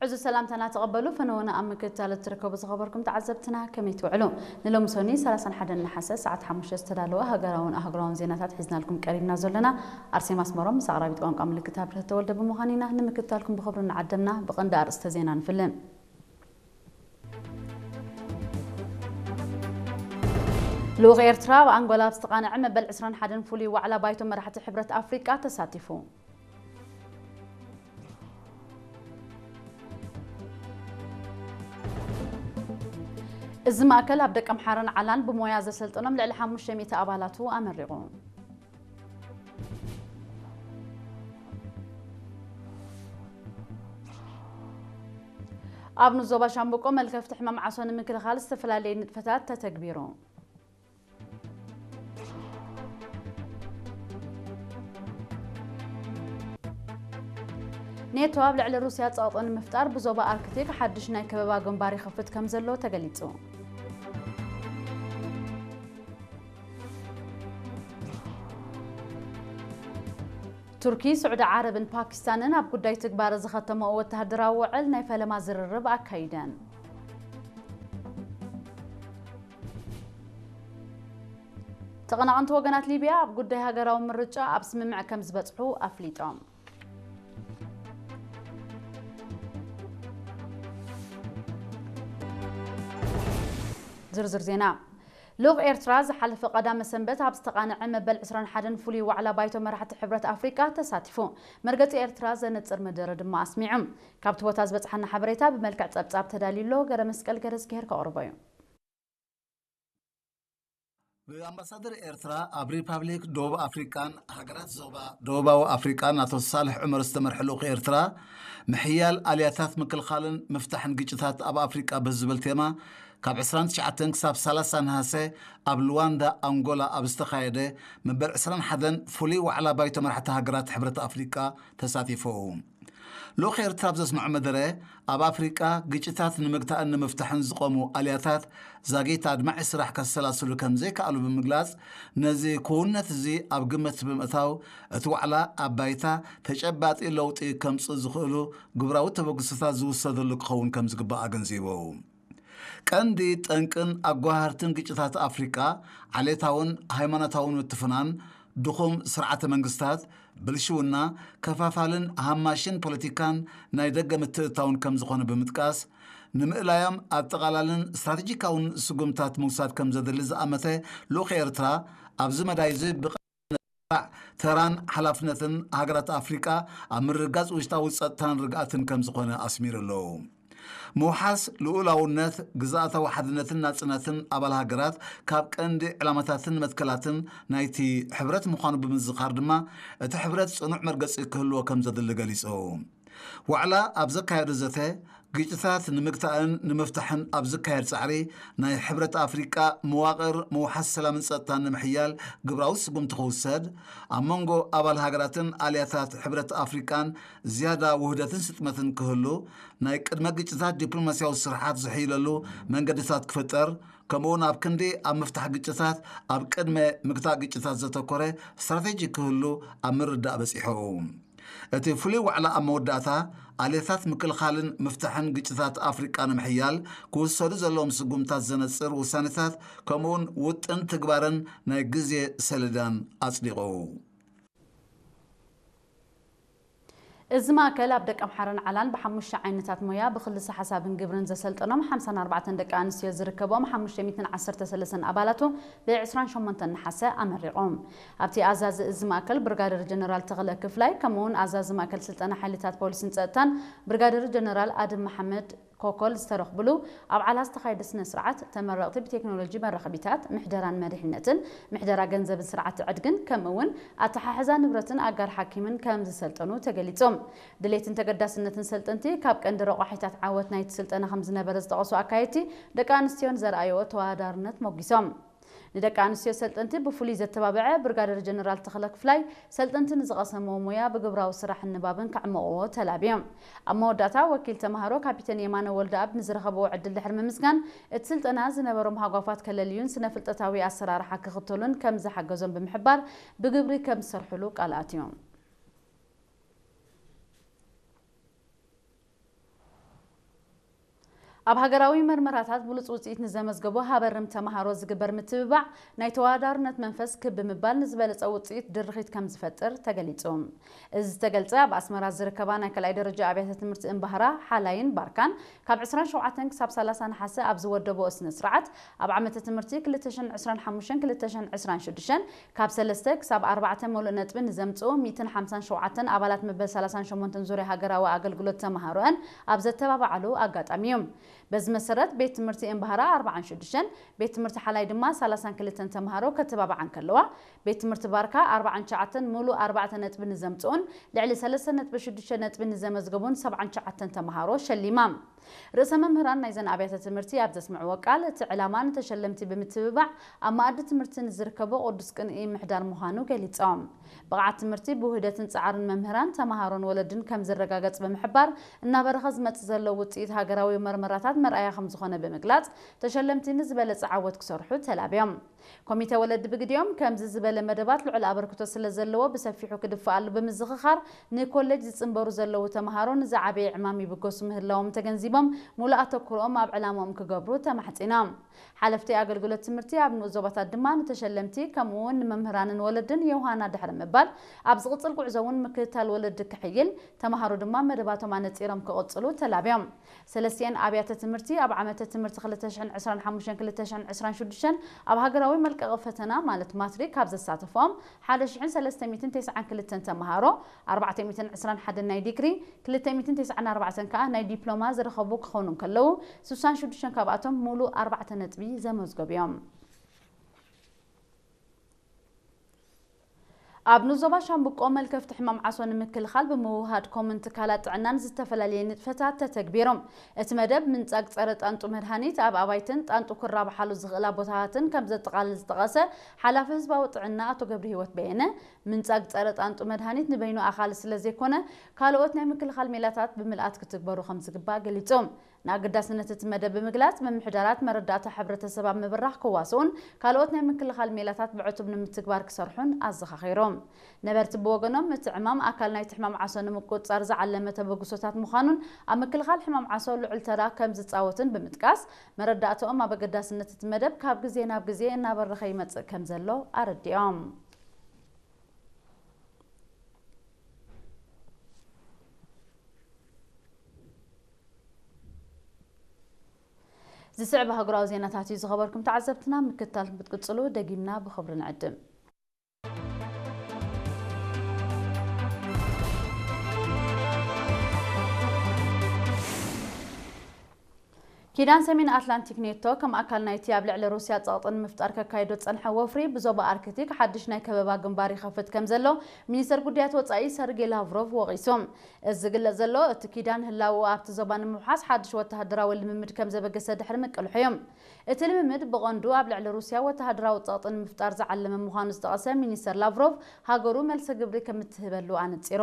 እዚ ሰላምታና ተቐበሉ። ፈነወና ኣብ ምክትታል እትርከቡ ዝኸበርኩም ተዓዘብትና ከመይ ትውዕሉ? ንሎሚ ሰኒ ሰላሳን ሓደን ነሓሰ ሰዓት ሓሙሽተ ዝተዳለወ ሃገራውን ኣህጉራውን ዜናታት ሒዝናልኩም ቀሪብና ዘለና ኣርሴማ ኣስመሮም ምስ ኣቕራቢት ቋንቋ ምልክት ኣብርህ ተወልደ ብምዃን ኢና። ንምክትታልኩም ብኽብሪ እናዓደምና ብቐንዲ ኣርእስተ ዜና ንፍልን። ልኡኽ ኤርትራ ኣብ ኣንጎላ ኣብ ዝተቓነዐ መበል ዕስራን ሓደን ፍሉይ ዋዕላ ባይቶ መራሕቲ ሕብረት ኣፍሪቃ ተሳቲፉ። እዚ ማእከል ኣብ ደቀምሓረን ዓላን ብሞያ ዘሰልጠኖም ልዕሊ ሓሙሽተ ሚእቲ ኣባላቱ ኣመሪቑ። ኣብ ንዞባ ሻምብቆ መልከፍቲ ሕማም ዓሶ ንምክልኻል ዝተፈላለዩ ንጥፈታት ተተግቢሩ። ኔቶ ኣብ ልዕሊ ሩስያ ጸቕጦ ንምፍጣር ብዞባ ኣርክቲክ ሓድሽ ናይ ከበባ ግንባር ይኸፍት ከም ዘሎ ተገሊጹ። ቱርኪ፣ ስዑዲ ዓረብን ፓኪስታንን ኣብ ጉዳይ ትግባረ ዝኸተመኦ ወተሃደራዊ ውዕል ናይ ፈለማ ዝርርብ ኣካይደን። ተቐናቐንቲ ወገናት ሊብያ ኣብ ጉዳይ ሃገራዊ ምርጫ ኣብ ስምምዕ ከም ዝበጽሑ ኣፍሊጦም። ዝርዝር ዜና። ልኡኽ ኤርትራ ዝሓለፈ ቀዳመ ሰንበት ኣብ ዝተቓነዐ መበል ዕስራን ሓደን ፍሉይ ዋዕላ ባይቶ መራሕቲ ሕብረት ኣፍሪቃ ተሳቲፉ። መርገጺ ኤርትራ ዘነጽር መደረ ድማ ኣስሚዑ። ካብቲ ቦታ ዝበጽሓና ሓበሬታ ብመልክዕ ጸብጻብ ተዳልዩ ኣሎ። ገረ መስቀል ገረዝግሄር ከቕርቦ እዩ። ብኣምባሳደር ኤርትራ ኣብ ሪፓብሊክ ደቡብ ኣፍሪቃን ሃገራት ዞባ ደቡባዊ ኣፍሪቃን ኣቶ ሳልሕ ዑመር ዝተመርሐ ልኡኽ ኤርትራ፣ ምሕያል ኣልያታት ምክልኻልን ምፍታሕን ግጭታት ኣብ ኣፍሪቃ ብዝብል ቴማ ካብ ዕስራን ትሽዓተን ክሳብ ሰላሳ ነሃሰ ኣብ ሉዋንዳ ኣንጎላ ኣብ ዝተኻየደ መበል ዕስራን ሓደን ፍሉይ ዋዕላ ባይቶ መራሕቲ ሃገራት ሕብረት ኣፍሪቃ ተሳቲፉ። ልኡኽ ኤርትራ ኣብ ዘስምዖ መደረ፣ ኣብ ኣፍሪቃ ግጭታት ንምግታእን ንምፍታሕን ዝቖሙ ኣልያታት ዛጊት ኣድማዒ ስራሕ ከሰላስሉ ከም ዘይከኣሉ ብምግላጽ፣ ነዚ ክውንነት እዚ ኣብ ግምት ብምእታው፣ እቲ ዋዕላ ኣብ ባይታ ተጨባጢ ለውጢ ከምጽእ ዝኽእሉ ግብራዊ ተበግሶታት ዝውሰደሉ ክኸውን ከም ዝግባእ ኣገንዚቡ። ቀንዲ ጠንቅን ኣጓሃርትን ግጭታት ኣፍሪቃ ዓሌታውን ሃይማኖታውን ምትፍናን፣ ድኹም ስርዓተ መንግስታት፣ ብልሽውና፣ ከፋፋልን ሃማሽን ፖለቲካን ናይ ደገ ምትእትታውን ከም ዝኾነ ብምጥቃስ፣ ንምእላዮም ኣጠቓላልን ስትራቴጂካውን ስጉምታት ምውሳድ ከም ዘድሊ ዝኣመተ ልኡኽ ኤርትራ፣ ኣብዚ መዳይ እዚ ብቐ ተራን ሓላፍነትን ሃገራት ኣፍሪቃ ኣብ ምርግጋጽ ውሽጣዊ ጸጥታን ርግኣትን ከም ዝኾነ ኣስሚሩ ኣሎ። ምውሓስ ልኡላውነት፣ ግዝኣታዊ ሓድነትን ናጽነትን ኣባል ሃገራት ካብ ቀንዲ ዕላማታትን መትከላትን ናይቲ ሕብረት ምዃኑ ብምዝኻር ድማ፣ እቲ ሕብረት ጽኑዕ መርገጺ ክህልዎ ከም ዘድሊ ገሊጹ። ዋዕላ ኣብ ዘካየዶ ዘተ፣ ግጭታት ንምግታእን ንምፍታሕን ኣብ ዝካየድ ጻዕሪ፣ ናይ ሕብረት ኣፍሪቃ መዋቕር ምውሓስ ሰላምን ጸጥታን ንምሕያል ግብራዊ ስጉምቲ ክውሰድ፣ ኣብ መንጎ ኣባል ሃገራትን ኣልያታት ሕብረት ኣፍሪቃን ዝያዳ ውህደትን ስጥመትን ክህሉ፣ ናይ ቅድመ ግጭታት ዲፕሎማስያዊ ስርሓት ዝሕይለሉ መንገድታት ክፍጠር፣ ከምኡውን ኣብ ክንዲ ኣብ ምፍታሕ ግጭታት፣ ኣብ ቅድመ ምግታእ ግጭታት ዘተኮረ ስትራቴጂ ክህሉ ኣብ ምርዳእ በጺሑ። እቲ ፍሉይ ዋዕላ ኣብ መወዳእታ፣ ኣልየታት ምክልኻልን ምፍታሕን ግጭታት ኣፍሪቃ ንምሕያል ክውሰዱ ዘለዎም ስጉምታት ዘነጽር ውሳኔታት፣ ከምኡውን ውጥን ትግባረን ናይ ግዜ ሰሌዳን ኣጽዲቑ። እዚ ማእከል ኣብ ደቀምሓረን ዓላን ብሓሙሽተ ዓይነታት ሞያ ብክልሰ ሓሳብን ግብርን ዘሰልጠኖም ሓምሳን ኣርባዕተን ደቂ ኣንስትዮ ዝርከቦም ሓሙሽተ ሚእትን ዓሰርተ ሰለስተን ኣባላቱ ብ ዕስራን ሸሞንተን ነሓሰ ኣመሪቖም። ኣብቲ ኣዛዚ እዚ ማእከል ብርጋደር ጀነራል ተኽለ ክፍላይ፣ ከምኡውን ኣዛዚ ማእከል ስልጠና ሓይልታት ፖሊስን ጸጥታን ብርጋደር ጀነራል ኣድም መሓመድ ኮኮል ዝተረኽብሉ ኣብ ዓላ ዝተኻየደ ስነ ስርዓት፣ ተመረቕቲ ብቴክኖሎጂ መራኸቢታት፣ ምሕደራን መሪሕነትን፣ ምሕደራ ገንዘብን ስርዓት ዕድግን፣ ከምኡ እውን ኣተሓሕዛ ንብረትን ኣጋር ሓኪምን ከም ዝሰልጠኑ ተገሊጹ። ድሌትን ተገዳስነትን ሰልጠንቲ ካብ ቀንዲ ረቋሒታት ዓወት ናይቲ ስልጠና ከም ዝነበረ ዝጠቐሱ ኣካየድቲ፣ ደቂ ኣንስትዮን ዘርኣየኦ ተወዳዳርነት ሞጊሶም። ንደቂ ኣንስትዮ ሰልጠንቲ ብፍሉይ ዘተባብዐ ብርጋደር ጀነራል ተኽለ ክፍላይ፣ ሰልጠንቲ ንዝቐሰምዎ ሞያ ብግብራዊ ስራሕን ንባብን ከዕምቕዎ ተላብዮም። ኣብ መወዳእታ፣ ወኪል ተምሃሮ ካፒተን የማነ ወልደኣብ ንዝረኸብዎ ዕድል ድሕሪ ምምስጋን፣ እቲ ስልጠና ዝነበሮም ሃጓፋት ከለልዩን ስነ ፍልጠታዊ ኣሰራርሓ ክኽተሉን ከም ዝሓገዞም ብምሕባር፣ ብግብሪ ከም ዝሰርሕሉ ቃል ኣትዮም። ኣብ ሃገራዊ መርመራታት ብሉጽ ውጽኢት ንዘመዝገቡ ሃበርም ተማሃሮ ዝግበር ምትብባዕ ናይ ተወዳዳርነት መንፈስ ክብ ብምባል ንዝበለጸ ውጽኢት ድርኺት ከም ዝፈጥር ተገሊጹ። እዚ ዝተገልጸ ኣብ ኣስመራ ዝርከባ ናይ ካልኣይ ደረጃ ኣብያተ ትምህርቲ እምባህራ፣ ሓላይን ባርካን ካብ ዕስራን ሸውዓተን ክሳብ ሰላሳ ነሓሰ ኣብ ዝወደበኦ ስነ ስርዓት ኣብ ዓመተ ትምህርቲ ክልተ ሽሕን ዕስራን ሓሙሽተን ክልተ ሽሕን ዕስራን ሽዱሽተን ካብ ሰለስተ ክሳብ ኣርባዕተ መሉእ ነጥቢ ንዘምጽኡ ሚእትን ሓምሳን ሸውዓተን ኣባላት መበል ሰላሳን ሸሞንተን ዙርያ ሃገራዊ ኣገልግሎት ተማሃሮኣን ኣብ ዘተባብዓሉ ኣጋጣሚ እዩ። በዚ መሰረት ቤት ትምህርቲ እምባህራ ኣርባዓን ሽዱሽተን፣ ቤት ትምህርቲ ሓላይ ድማ ሰላሳን ክልተን ተማሃሮ ከተባብዓ እንከለዋ፣ ቤት ትምህርቲ ባርካ ኣርባዓን ትሽዓተን ምሉእ ኣርባዕተ ነጥቢ ንዘምጽኡን ልዕሊ ሰለስተ ነጥቢ ሽዱሽተ ነጥቢ ንዘመዝገቡን ሰብዓን ትሽዓተን ተማሃሮ ሸሊማ። ርእሰ መምህራን ናይዘን ኣብያተ ትምህርቲ ኣብ ዘስምዕዎ ቃል፣ እቲ ዕላማ ንተሸለምቲ ብምትብባዕ ኣብ መኣዲ ትምህርቲ ንዝርከቡ ቅዱስ ቅንኢ ምሕዳር ምዃኑ ገሊጾም። ብቕዓት ትምህርቲ ብውህደትን ጻዕርን መምህራን፣ ተማሃሮን ወለድን ከም ዝረጋገጽ ብምሕባር፣ እናበረኸ ዝመጽእ ዘሎ ውጽኢት ሃገራዊ መርመራታት መርኣያ ከም ዝኾነ ብምግላጽ፣ ተሸለምቲ ንዝበለጸ ዓወት ክሰርሑ ተላብዮም። ኮሚተ ወለዲ ብግዲኦም፣ ከምዚ ዝበለ መደባት ልዑል ኣበርክቶ ስለ ዘለዎ ብሰፊሑ ክድፈኣሉ ብምዝኽኻር፣ ንኮሌጅ ዝጽንበሩ ዘለዉ ተማሃሮ ንዝዓበየ ዕማም ይብገሱ ምህላዎም ተገንዚቦም፣ ሙሉእ ኣተኩሮኦም ኣብ ዕላምኦም ክገብሩ ተማሕጺኖም። ሓለፍቲ ኣገልግሎት ትምህርቲ ኣብ ንኡስ ዞባታት ድማ ንተሸለምቲ ከምኡ እውን ንመምህራንን ወለድን የውሃና ድሕሪ ምባል፣ ኣብ ዝቕጽል ጉዕዞ እውን ምክትታል ወለዲ ክሕይል፣ ተማሃሮ ድማ መደባቶም ኣነጺሮም ክቕጽሉ ተላብዮም። ሰለስቲኤን ኣብያተ ትምህርቲ ኣብ ዓመተ ትምህርቲ ክልተ ሽሕን ዕስራን ሓሙሽተን ክልተ ሽሕን ዕስራን ሽዱሽተን ኣብ ሃገራዊ መልቀቒ ፈተና ማለት ማትሪክ ካብ ዘሳተፎም ሓደ ሽሕን ሰለስተ ሚእትን ተስዓን ክልተን ተማሃሮ፣ ኣርባዕተ ሚእትን ዕስራን ሓደን ናይ ዲግሪ፣ ክልተ ሚእትን ተስዓን ኣርባዕተን ከኣ ናይ ዲፕሎማ ዝረኸቡ ክኾኑ እንከለዉ፣ ስሳን ሽዱሽተን ካብኣቶም ሙሉእ ኣርባዕተ ነጥቢ ዘመዝገቡ እዮም። ኣብ ንዞባ ሻምብቆ መልከፍቲ ሕማም ዓሶ ንምክልኻል ብምውህሃድ ኮምን ትካላት ጥዕናን ዝተፈላለየ ንጥፈታት ተተግቢሮም። እቲ መደብ ምንጻግ ጸረ ጣንጡ መድሃኒት ኣብ ኣባይትን ጣንጡ ክራብሓሉ ዝኽእላ ቦታታትን ከም ዘጠቓልል ዝጠቐሰ ሓላፊ ህዝባዊ ጥዕና ኣቶ ገብረ ህይወት በየነ፣ ምንጻግ ጸረ ጣንጡ መድሃኒት ንበይኑ ኣኻሊ ስለ ዘይኮነ፣ ካልኦት ናይ ምክልኻል ሜላታት ብምልኣት ክትግበሩ ከም ዝግባእ ገሊጹ። ንኣገዳስነት እቲ መደብ ብምግላጽ፣ ምምሕዳራት መረዳእታ ሕብረተሰብ ኣብ ምብራኽ ክዋስኡን ካልኦት ናይ ምክልኻል ሜላታት ብዕቱብ ንምትግባር ክሰርሑን ኣዘኻኺሮም። ነበርቲ ብወገኖም፣ እቲ ዕማም ኣካል ናይቲ ሕማም ዓሶ ንምቁጽጻር ዝዓለመ ተበግሶታት ምዃኑን ኣብ ምክልኻል ሕማም ዓሶ ልዑል ተራ ከም ዝጻወትን ብምጥቃስ፣ መረዳእታኦም ኣብ ኣገዳስነት እቲ መደብ ካብ ግዜ ናብ ግዜ እናበረኸ ይመጽእ ከም ዘሎ ኣረዲኦም። ዝስዕብ ኣህጉራዊ ዜናታት እዩ ዝኸበርኩም ተዓዘብትና፣ ምክትታል ክትቅጽሉ ደጊምና ብኽብሪ ንዕድም። ኪዳን ሰሜን ኣትላንቲክ ኔቶ ከም ኣካል ናይቲ ኣብ ልዕሊ ሩስያ ጸቕጢ ንምፍጣር ከካይዶ ዝጸንሐ ወፍሪ ብዞባ ኣርክቲክ ሓድሽ ናይ ከበባ ግንባር ይኸፍት ከም ዘሎ ሚኒስተር ጉዳያት ወጻኢ ሰርጌ ላቭሮቭ ወቒሱ። እዚ ዝግለጽ ዘሎ እቲ ኪዳን ህላወኡ ኣብቲ ዞባ ንምውሓስ ሓድሽ ወተሃደራዊ ልምምድ ከም ዘበገሰ ድሕሪ ምቅልሑ እዩ። እቲ ልምምድ ብቐንዱ ኣብ ልዕሊ ሩስያ ወተሃደራዊ ጸቕጢ ንምፍጣር ዝዓለመ ምዃኑ ዝጠቐሰ ሚኒስተር ላቭሮቭ፣ ሃገሩ መልሰ ግብሪ ከም እትህበሉ ኣነጺሩ።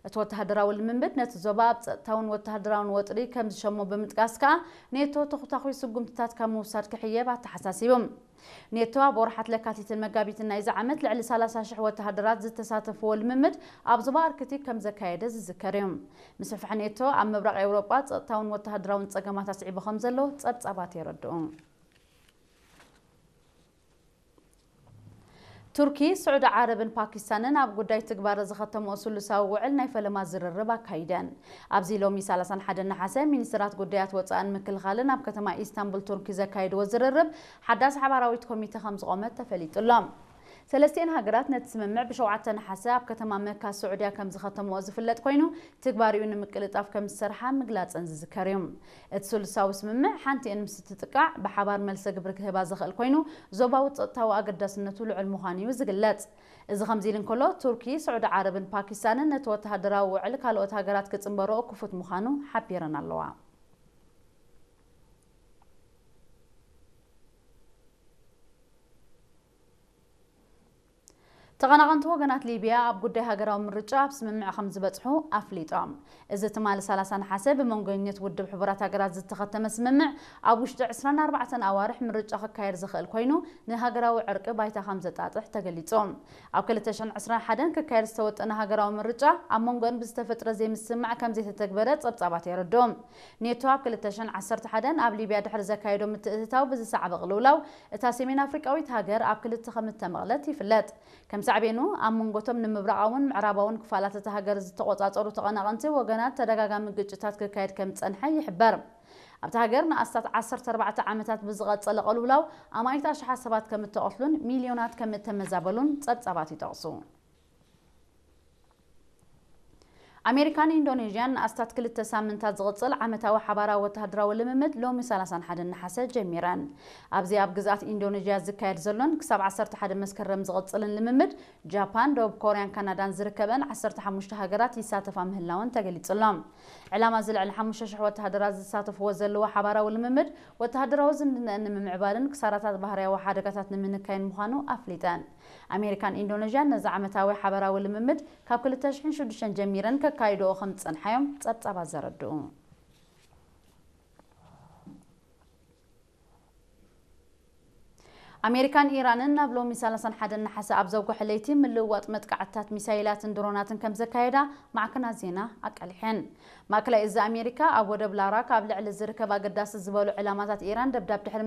እቲ ወተሃደራዊ ልምምድ ነቲ ዞባ ኣብ ጸጥታውን ወተሃደራውን ወጥሪ ከም ዝሸሞ ብምጥቃስ ከኣ፣ ኔቶ ተኹታኹይ ስጉምትታት ካብ ምውሳድ ክሕየብ ኣተሓሳሲቡ። ኔቶ ኣብ ወርሓት ለካቲትን መጋቢትን ናይዚ ዓመት ልዕሊ ሰላሳ ሽሕ ወተሃደራት ዝተሳተፍዎ ልምምድ ኣብ ዞባ ኣርክቲክ ከም ዘካየደ ዝዝከር እዩ። ምስፍሕፋሕ ኔቶ ኣብ ምብራቕ ኤውሮጳ ጸጥታውን ወተሃደራውን ጸገማት ኣስዒቡ ከም ዘሎ ጸብጻባት የረድኡ። ቱርኪ፣ ስዑዲ ዓረብን ፓኪስታንን ኣብ ጉዳይ ትግባረ ዝኸተምኦ ስሉሳዊ ውዕል ናይ ፈለማ ዝርርብ ኣካይደን። ኣብዚ ሎሚ ሰላሳን ሓደን ነሓሰ፣ ሚኒስትራት ጉዳያት ወጻእን ምክልኻልን ኣብ ከተማ ኢስታንቡል ቱርኪ ዘካየድዎ ዝርርብ ሓዳስ ሓባራዊት ኮሚተ ከም ዝቖመት ተፈሊጡ ኣሎ። ሰለስቲኤን ሃገራት ነቲ ስምምዕ ብሸውዓተ ነሓሰ ኣብ ከተማ መካ ስዑድያ ከም ዝኸተምኦ ዝፍለጥ ኮይኑ፣ ትግባሪኡ ንምቅልጣፍ ከም ዝሰርሓ ምግላጸን ዝዝከር እዩ። እቲ ስሉሳዊ ስምምዕ ሓንቲኤን ምስ እትጥቃዕ ብሓባር መልሰ ግብሪ ክህባ ዝኽእል ኮይኑ፣ ዞባዊ ጸጥታዊ ኣገዳስነቱ ልዑል ምዃኑ እዩ ዝግለጽ። እዚ ከምዚ ኢሉ እንከሎ፣ ቱርኪ፣ ስዑዲ ዓረብን ፓኪስታንን ነቲ ወተሃደራዊ ውዕል ካልኦት ሃገራት ክጽንበርኦ ክፉት ምዃኑ ሓቢረን ኣለዋ። ተቐናቐንቲ ወገናት ሊብያ ኣብ ጉዳይ ሃገራዊ ምርጫ ኣብ ስምምዕ ከም ዝበጽሑ ኣፍሊጦም። እዚ ትማሊ ሰላሳ ነሓሰ ብመንጎኝነት ውድብ ሕቡራት ሃገራት ዝተኸተመ ስምምዕ፣ ኣብ ውሽጢ ዕስራን ኣርባዕተን ኣዋርሕ ምርጫ ክካየድ ዝኽእል ኮይኑ፣ ንሃገራዊ ዕርቂ ባይታ ከም ዘጣጥሕ ተገሊጹ። ኣብ ክልተ ሽሕን ዕስራን ሓደን ክካየድ ዝተወጠነ ሃገራዊ ምርጫ፣ ኣብ መንጎን ብዝተፈጥረ ዘይምስምማዕ ከም ዘይተተግበረ ጸብጻባት የረድኡ። ኔቶ ኣብ ክልተ ሽሕን ዓሰርተ ሓደን ኣብ ሊብያ ድሕሪ ዘካየዶ ምትእትታው ብዝሰዓበ ቅልውላው፣ እታ ሰሜን ኣፍሪቃዊት ሃገር ኣብ ክልተ ከም እተመቕለት ይፍለጥ። ከም ሳዕቤኑ፣ ኣብ መንጎቶም ንምብራቓውን ምዕራባውን ክፋላት እታ ሃገር ዝተቖጻጸሩ ተቐናቐንቲ ወገናት ተደጋጋሚ ግጭታት ክካየድ ከም ዝጸንሐ ይሕበር። ኣብታ ሃገር ንኣስታት ዓሰርተ ኣርባዕተ ዓመታት ብዝቐጸለ ቅልውላው ኣማኢት ኣሽሓት ሰባት ከም እተቐትሉን ሚልዮናት ከም እተመዛበሉን ጸብጻባት ይጠቕሱ። ኣሜሪካን ኢንዶኔዥያን ንኣስታት ክልተ ሳምንታት ዝቕጽል ዓመታዊ ሓባራዊ ወተሃደራዊ ልምምድ ሎሚ ሰላሳን ሓደን ነሓሰ ጀሚረን። ኣብዚ ኣብ ግዝኣት ኢንዶኔዥያ ዝካየድ ዘሎን ክሳብ ዓሰርተ ሓደ መስከረም ዝቕጽልን ልምምድ፣ ጃፓን፣ ደቡብ ኮርያን ካናዳን ዝርከበን ዓሰርተ ሓሙሽተ ሃገራት ይሳተፋ ምህላወን ተገሊጹ ኣሎ። ዕላማ እዚ ልዕሊ ሓሙሽተ ሽሕ ወተሃደራት ዝሳተፍዎ ዘለዎ ሓባራዊ ልምምድ፣ ወተሃደራዊ ዝምድነአን ንምምዕባልን ክሳራታት ባህርያዊ ሓደጋታት ንምንካይን ምዃኑ ኣፍሊጠን። ኣሜሪካን ኢንዶኔዥያን ነዚ ዓመታዊ ሓባራዊ ልምምድ ካብ ክልተ ሽሕን ሽዱሽተን ጀሚረን ከካይድኦ ከም ዝጸንሓዮም ጸብጻባት ዘረድኡ። ኣሜሪካን ኢራንን ናብ ሎሚ ሰላሳን ሓደን ነሓሰ ኣብ ዘውግሐ ለይቲ ምልውዋጥ መጥቃዕትታት ሚሳይላትን ድሮናትን ከም ዘካየዳ ማዕከናት ዜና ኣቃሊሐን። ማእከላይ እዚ ኣሜሪካ ኣብ ወደብ ላራክ ኣብ ልዕሊ ዝርከብ ኣገዳሲ ዝበሉ ዕላማታት ኢራን ደብዳብ ድሕሪ